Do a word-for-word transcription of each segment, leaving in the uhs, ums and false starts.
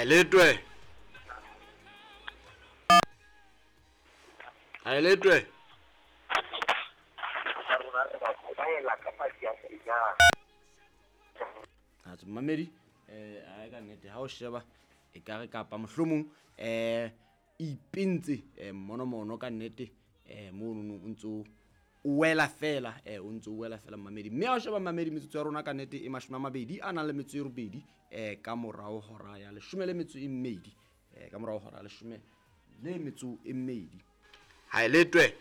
Haeletwe. Haeletwe. Atjhe mamedi eh a ka nnete ha o sheba e ka re kapa mohlomong eh ipentse monomono ka nnete eh mono o ntso o wela fela eh o ntso o wela fela mamedi. Mme ha o sheba mamedi metsotso ya rona ka nnete e mashome a mabedi a nang le metso e robedi eh ka morao hora ya leshome le metso e mmedi eh ka morao hora ya leshome le metso e mmedi. Haeletwe.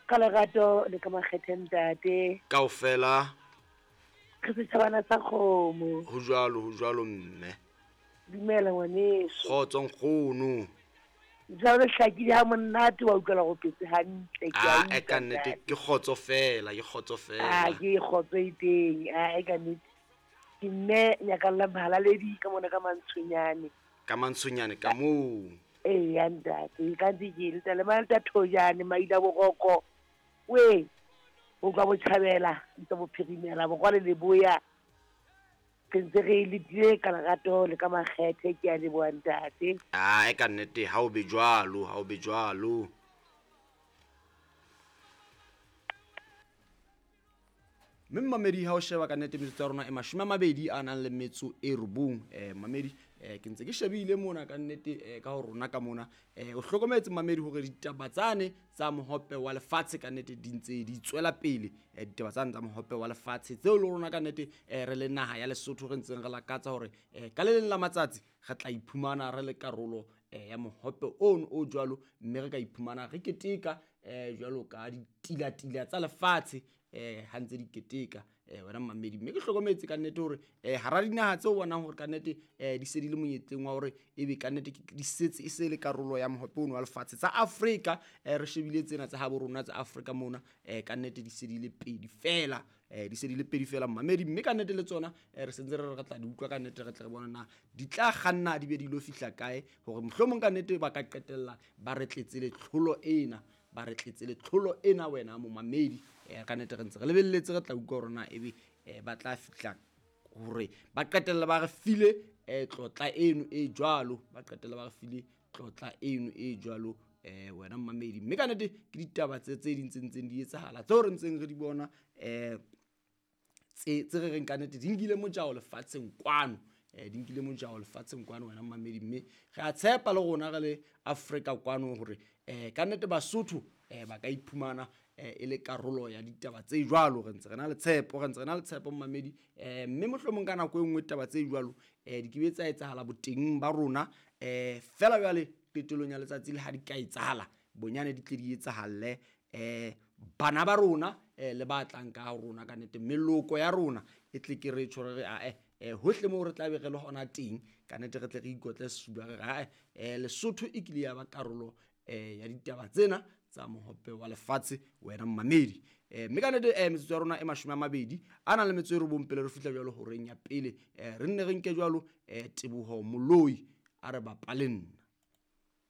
Ka lerato le ka makgethe ntate. Kaofela. Re setjhabana sa kgomo. Ho jwalo, ho jwalo mme. Dumela ngwaneso. Kgotso nkgono. Jwale hlakile ha monate wa utlwela go petse hantle ke a utlwa. Ah, ka nnete ke kgotso fela, ke kgotso fela. Ah, ke kgotso e teng. Ah, e ka nnete. Ke mme Nyakalla Mhalaledi ka mona ka Mantshonyane. Ka Mantshonyane ka moo. Eh, ya ntate, ka ntse ke le tale malta thojane maila boroko. We o ka botjhabela ntse bophirimela borwa le leboya. Ke ntse re letile ka lerato le ka makgethe ke a leboha ntate. Ah, e ka nnete ha o be jwalo, ha o be jwalo. Mme mamedi ha o sheba ka nnete metsotso ya rona e mashome a mabedi a nang le metso e robong. Eh mamedi eh ke ntse ke shebile mona ka nnete eh ka ho rona ka mona eh o hlokometse mamedi hore ditaba tsane tsa mohope wa lefatshe ka nnete di ntse di tswela pele. Eh ditaba tsane tsa mohope wa lefatshe tseo le rona ka nnete eh re le naha ya Lesotho re ntseng re lakatsa hore eh ka le leng la matsatsi re tla iphumana re le karolo eh ya mohope ono o jwalo, mme re ka iphumana re keteka eh jwalo ka ditilatila tsa lefatshe eh ha ntse di keteka eh wena mamedi. Mme ke hlokometse ka nnete hore eh hara dinaha tseo bonang hore ka nnete eh di se di le monyetleng wa hore ebe ka nnete di setse e se le karolo ya mohope ono wa lefatshe tsa Afrika eh re shebile tsena tsa habo rona tsa Afrika mona eh ka nnete di se di le pedi fela eh di se di le pedi fela mamedi. Mme ka nnete le tsona eh re sentse re re tla di utlwa ka nnete re tla re bona na di tla kganna di be di lo fihla kae hore mohlomong ka nnete ba ka qetella ba re tletse le tlholo ena ba re tletse le tlholo ena wena momamedi. Eh ka nnete re ntse re lebelletse re tla utlwa hore na ebe eh ba tla fihla hore ba qetella ba re file eh tlotla eno e jwalo, ba qetella ba re file tlotla eno e jwalo eh wena momamedi. Mme ka nnete ke ditaba tse tse ding tse ntseng di etsahala tseo re ntseng re di bona eh tse tse re reng ka nnete di nkile mojao lefatsheng kwano eh di nkile mojao lefatsheng kwano wena momamedi. Mme re a tshepa le rona re le Afrika kwano hore eh ka nnete Basotho eh ba ka iphumana eh e le karolo ya ditaba tse jwalo. Re ntse re na le tshepo, re ntse re na le tshepo momamedi. Eh mme mohlomong ka nako e nngwe taba tse jwalo eh di ke tsa etsahala boteng ba rona eh fela jwale qetellong ya letsatsi le ha di ka etsahala bonyane di tle di etsahalle eh bana ba rona eh le ba tlang ka rona ka nnete meloko ya rona e tle ke re tjho re a eh eh hohle moo re tla be re le hona teng ka nnete re tle re ikotle sefuba re re eh Lesotho e kile ya ba karolo eh ya ditaba tsena tsa mohope wa lefatshe wena mamedi. Eh mme ka nnete eh metsotso ya rona e mashome a mabedi a nang le metso e robong pele re fihla jwalo horeng ya pele eh re nne re nke jwalo eh Teboho Moloi a re bapale nna.